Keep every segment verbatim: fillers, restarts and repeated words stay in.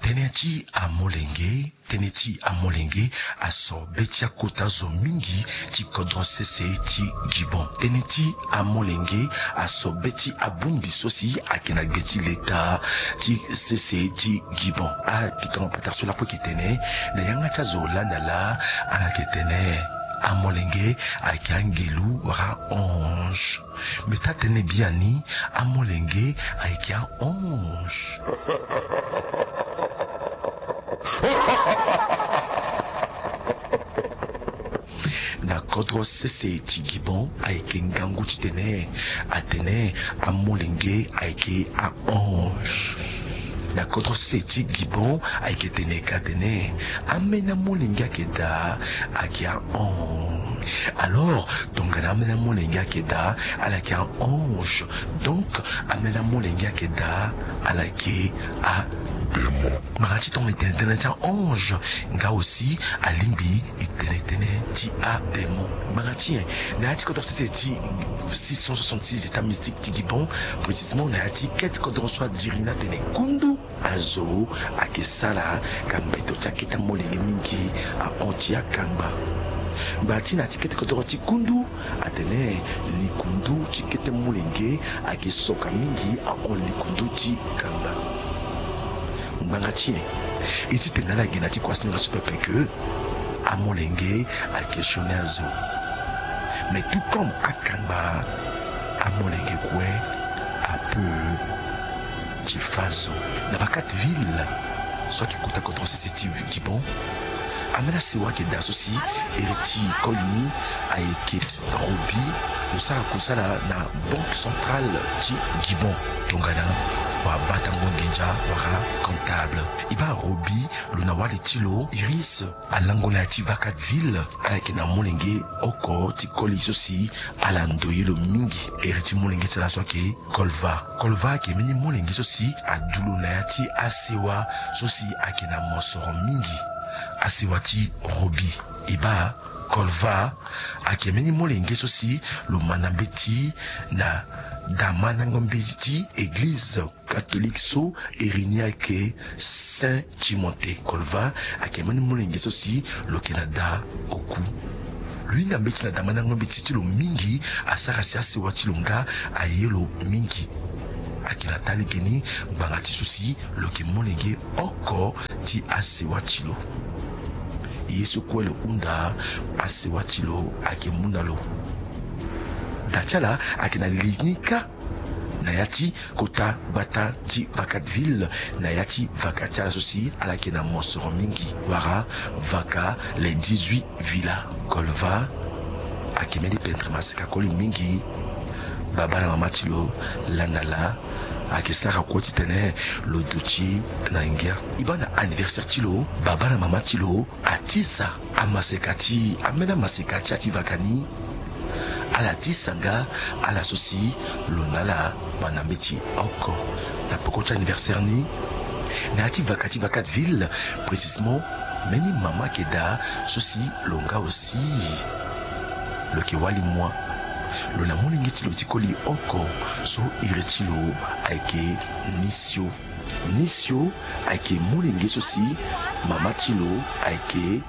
Tënë ti amolenge, tënë ti amolenge aso be ti akota zo mingi ti kodro sese ti Gibon. Tënë ti amolenge aso be ti abongbi so si ayeke na gbe ti leta ti sese ti Gibon. Ayeke tongaso patara so lakue ayeke tene, na yanga ti azo laa na laa, ala yeke tene amolenge ayeke angelu wala ange. Me taa tënë biani, amolenge ayeke ange. Na kodro sese ti Gibon ayeke ngangu titene atene amolenge ayeke ange. Na kodro sese ti Gibon ayeke tene ka atene ambeni amolenge ayeke daa ayeke ange. Alors, tongana ambeni amolenge ayeke daa ala yeke ange, donc ambeni amolenge ayeke daa ala yeke adémon. Ngbanga ti tongana e tene tënë ti ange, nga aussi alingbi e tene tënë ti adémon. Ngbanga ti nyen? Na ya ti kodro sese ti six cent soixante-six états mystiques ti Gibon, précisément na ya ti kete kodro so adiri ni atene kundu azo ayeke sara ka mbeto ti akete amolenge mingi ahon ti akangba. Ngbanga ti na ya ti kete kodro ti kundu atene likundu ti kete molenge ayeke soka mingi ahon likundu ti kangba. Ngbanga ti nyen? E ti tene na ala gi na ya ti kuasinga so pepe ke amolenge ayeke sioni azo. Mais tout comme akangba, amolenge kue ape ti fâ zo. Na Vacateville so ayeke kota kodro sese ti Gibon, ambeni asewa ayeke daa so si iri ti koli ni ayeke Robi, lo sara kusala na Banque Centrale ti Gibon, tongana wabatango nginza wala comptable. E baa Robi, lo na wali ti lo Iris alango na ya ti Vacateville, ala yeke na molenge oko ti koli so si ala ndoye lo mingi. Iri ti molenge ti ala so ayeke Kolva. Kolva ayeke mbeni molenge so si adu lo na ya ti asewa so si ayeke na mosoro mingi, asewa ti Robi. E baa Kolva ayeke mbeni molenge so si lo mä na mbeti na damandango mbeti ti eglize catholique so iri ni ayeke Saint Timothée. Kolva ayeke mbeni molenge so si lo yeke na da oku. Lo hinga mbeti na damandango mbeti ti lo mingi, asara si asewa ti lo nga aye lo mingi. Ayeke na taa lege ni ngbanga ti so si lo yeke molenge oko ti asewa ti lo. Ye so kue lo hunda, asewa ti lo ayeke mu na lo. Da ti ala ayeke na li ni kâ na ya ti kota gbata ti Vacateville, na ya ti vaka ti ala so si ala yeke na mosoro mingi, wala vaka les dix-huit villas. Kolva ayeke mbeni pendre maseka koli mingi. Babâ na mama ti lo laa na laa ayeke sara kue titene lo duti na ngia. E baa na anniversaire ti lo, babâ na mama ti lo atisa amaseka ti, ambeni amaseka ti ya ti vaka ni. Ala tisa nga ala so si lo na ala mä na mbeti oko na peko ti anniversaire ni. Na ya ti vaka ti Vacateville, précisément, mbeni mama ayeke daa so si lo nga aussi lo yeke wali moi. Lo na molenge ti lo ti koli oko so iri ti lo ayeke Nisio. Nisio ayeke molenge so si mama ti lo ayeke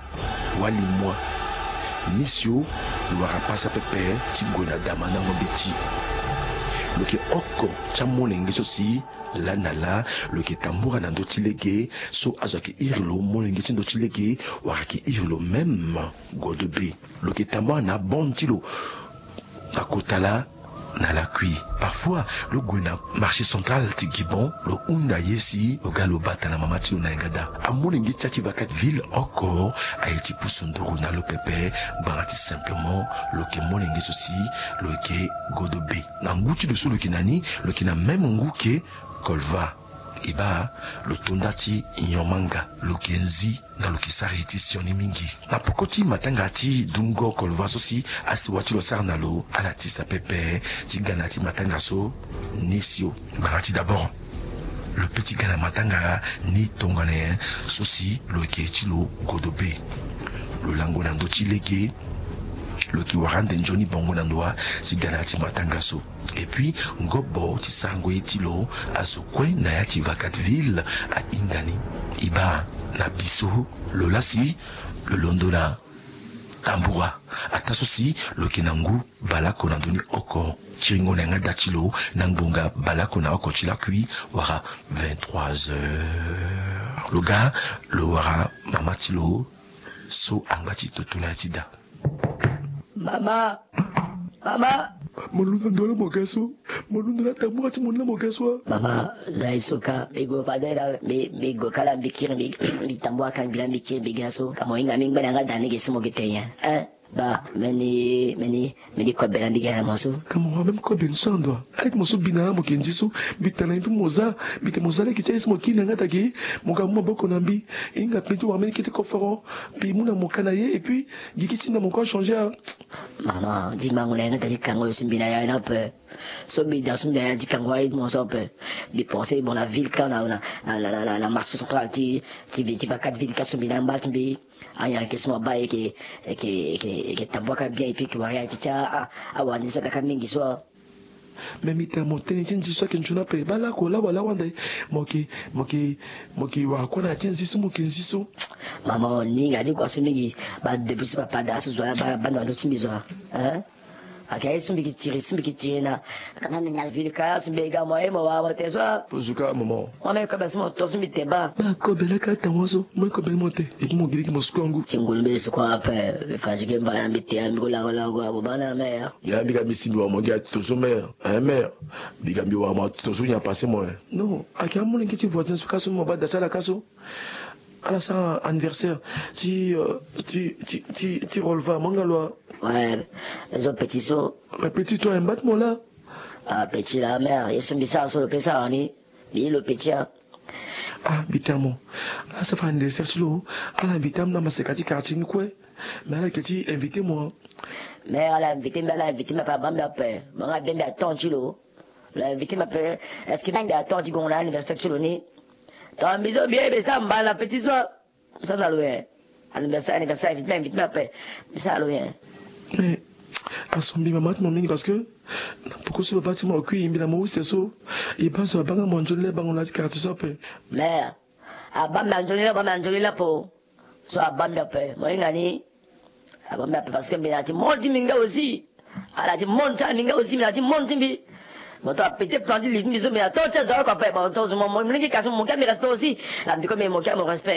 wali moi. Nisio lo wara pasa pepe ti gue na damandango mbeti. Lo yeke oko ti amolenge so si laa na laa lo yeke tambura na ndö ti lege, so azo ayeke iri lo molenge ti ndö ti lege, wala ayeke iri lo même Godobe. Lo yeke tambula na abonde ti lo na kota laa na lakui. Parfois lo gue na marché central ti Gibon, lo hunda ye si lo ga lo bata na mama ti lo na yanga daa. Amolenge ti ya ti Vacateville oko aye ti pusu nduru na lo pepe. Ngbanga ti simplement lo yeke molenge so si lo yeke Godobe. Na ngu ti lo so lo yeke na ni, lo yeke na même ngu ke Kolva. E baa lo to nda ti nyon manga, lo yeke nzi nga lo yeke sara ye ti sioni mingi. Na peko ti matanga ti dungo Kolva so si asewa ti lo asara na lo, ala tisa pepe ti ga na ya ti matanga so Nisio. Ngbanga ti d'abord lo pe ti ga na matanga ni tongana nyen so si lo yeke ti lo Godobe. Lo lango na ndö ti lege, Lo yeke wara ande nzoni bongo na ndo wa ti ga na ya ti matanga so. Et puis ngobo ti sarango ye ti lo azo kue na ya ti Vacaville ahinga ni. E baa na bi so lo laa si lo londo na tambura ataa so si lo yeke na ngu baleoko na ndoni oko kiringo na yanga da ti lo na ngbonga baleoko na oko ti lakui wala vingt-trois heures. Lo ga lo wara mama ti lo so angba ti toto na ya ti da. Mama, mama. Mo londo ndo laa mo ga so. Mo londo laa tambura ti mo ni laa mo ga so. Mama, za ye so ka mbi gue fade laa, mbi gue ka laa mbi kiri, mbi tambura ka mbi laa mbi kiri mbi ga so. Ka mo hinga mbi ngba na yanga da ni ge so mo ge te nyen? Hein? Ba, mbeni, mbeni, mbeni kobe laa mbi ga na mo so. Ka mo wara même kobe ni so na ndo wa? Ayeke mo so bi na laa mo yeke nzi so. Mbi tene na mbi mo za. Mbi tene mo za lege ti aye so mo kiri na yanga da ge. Mo ga mu maboko na mbi. E hinga mbi ti wara mbeni kete koforo. Mbi mu na mo ka na ye et puis gigi ti na mo kue achangé a. Mama, di mango na yanga da ti kango yo so mbi na ya ni ape. So mbi da so mbi na ya ti kango aye ti mo so ape. Mbi pensé bon na ville ka na, na, na marché central ti, ti ville ti Vacaville ka so mbi na ngba ti mbi. Anyan yeke so mo baa e yeke, e yeke, e yeke, e yeke tambua ka bien et puis e yeke wara ya ti ti a, a, awara ni so aga ka mingi so. Mais mbi tene mo tënë ti nzi so ayeke nzoni ape. Baa lako laa wala wande mo yeke, mo yeke, mo yeke wara kue na ya ti nzi so mo yeke nzi so. Mama, o ni hinga ti kua so mingi. Baa depuis so papa da so zo laa baa, baa ndo ndo ti mbi zo. Hein? Ake aye so mbi yeke tiri, so mbi yeke tiri na. Kana mbi na ville ka so mbi ga mo ye mo wara mo te so. Zo ka mama. Mo me kobe so mo to so mbi te baa. Baa kobe laa ka atango so mo ye kobe ni mo te. Et puis mo gi lege mo sukua ngu. Ti ngulu mbi sukua ape. Mbi fa ti ge mba na mbi te ya mbi ko lako lako abo baa na mère. Ya mbi ga mbi si mbi wara mo gi ati to so mère. Hein mère? Mbi ga mbi wara mo ati to so nyen apasé mo, hein? Non, ake amolenge ti voisin so ka so mo baa da ti ala ka so. Ala sara anniversaire ti, euh, ti, ti, ti, ti Rolva, mo nga lo a? Ouais, zo petit so. Mais petit toi, mbat mo laa. Ah, petit laa, mère, ye so mbi sara so lo pe sara ni. Mbi ye lo petit a. Ah, mbi tene mo. Ala sara anniversaire ti lo. Ala invité amolenge na maseka ti quartier ni kue. Mais ala yeke ti invité mo. Mère, ala invité mbi, ala invité mbi ape, abaa mbi ape. Mo nga be mbi aton ti lo. Lo invité mbi ape. Est-ce que mbi aton ti gongo na anniversaire ti lo ni? Donc mbi so mbi ye mbi sara mba na petit so. Mbi sara na lo nyen? Anniversaire, anniversaire, invité mbi, invité mbi ape. Mbi sara na lo nyen? Mais aso mbi mama ti mo mingi parce que na poko so baba ti mo akui mbi na mo use so. E baa so abaa nga mo anzoni laa e baa ngo na ya ti quartier so ape. Mais abaa mbi anzoni laa, abaa mbi anzoni laa po. So abaa mbi ape, mo hinga ni. Abaa mbi ape parce que mbi na ya ti monde ti mbi nga aussi. Ala ti monde ti ala mbi nga aussi, mbi na ya ti monde ti mbi. Mo to apete plan ti li ti mbi so mbi na to ti azo oko ape. Mo to zo mo, mo lingbi kasi mo moke mbi respect aussi. La mbi ko mbi moke mo respect.